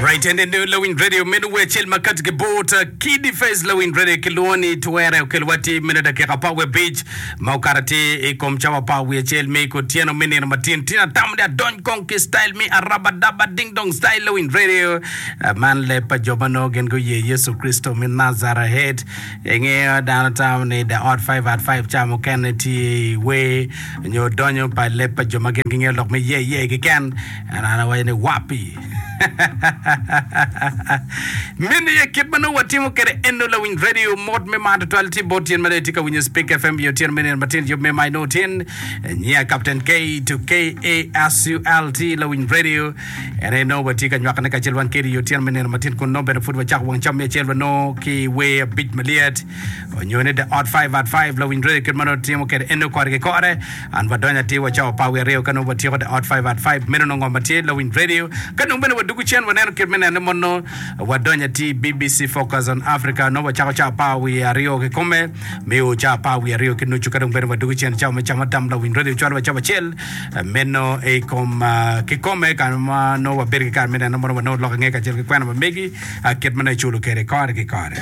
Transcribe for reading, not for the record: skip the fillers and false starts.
Alright, and then Lawiny Radio meno wer acel ma kati ki bot Kidi Face Lawiny Radio ki lwongo ni twere okel wa ti meno dakika apar wiye abic ma okato atir i kom cawa apar wiye acel me kutyeno me nino matin tin atamo ni adony kong ki style me arabadaba ding dong style Lawiny Radio Ah, man leb pa jo ma nongo gin guye Yecu Kricito me Nazaret Ingeyo dano tamo ni the odd five at five ca mukene tye i wer nyo donyo pa leb pa jo ma gin gingeyo lok me ye ye keken. En an awaco ni wapi. Meno aye kit ma nongo watimo kwede eno lawiny radio mot me mar tutwal tye bot tyen ma dong itye ka winyo Speak FM i otyeno me nino matin yub me ma inongo tin nyiya Captain K to K A S U L T lawiny radio En aye nongo watye ka nywakone kacel wan kedi i otyeno me nino matin kun nongo bene pud wacako wang cam me acel wanongo ki wer abic malyet onyo ni the odd five at five lawiny radio kit ma nongo timo kede en nongo kore ki kore an wadonyo atir wa cawa apar wiye aryo ka nongo watyeko the odd five at five meno nongo ngo ma tye lawiny radio ka nongo bene wadugu cen waneno kit me nene mono wadonyo atir BBC Focus on Africa nongo wacako cawa apar wiye aryo kikome me o cawa apar wiye aryo ki nucu ka dong bene wadugu cen cawa me camo tam lawiny radio cwalo wa cawa acel Meno i kom kikome ka ma nongo wabedo ki kare me neno mono wanongo lok ange kacel ki kwena ma megi kit ma nongo iculo kwede kore ki kore.